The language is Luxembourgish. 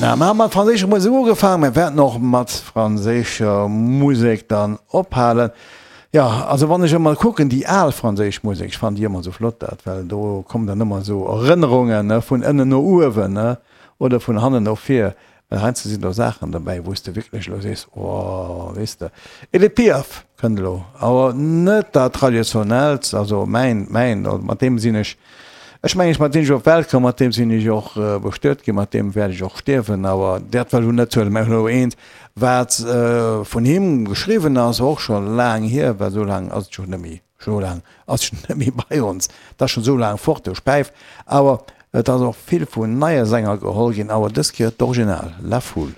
Na, mer hu mat franséischer Musek ugefaangen, mer wäerten och mat franséischer Musek dann ophalen. Jo, also wann ech ëmmer kucken, déi al franséisch Musek, ech fannen déi ëmmer esou flott dat, well do kommen dann ëmmer esou Erënnerungen, ne, vun ënnen no uewen, ne, oder vun hannen no vir. Well heiansdo sinn do Saachen dobäi, wou s de wierklech elo sees, Oh, weess de. Edith Piaf kënnt elo, awer net dat Traditionellt, also mäin, mäin, mat deem sinn ech, ech mengen, mat deem sinn ech op d'Welt komm, mat deem sinn ech och bestuet ginn, mat deem wäert ech och stierwen, awer dat wëll elo net huelen, mä elo eent, wat vun him geschriwwen ass, och scho laang hier, well esou laang ass et jo net méi. Scho laang ass en net méi bei ons, et ass schon esou laang fort, de Späif. Awer et ass och vill vun neie Sänger geholl ginn, awer dës Kéier d'Original, La Foule.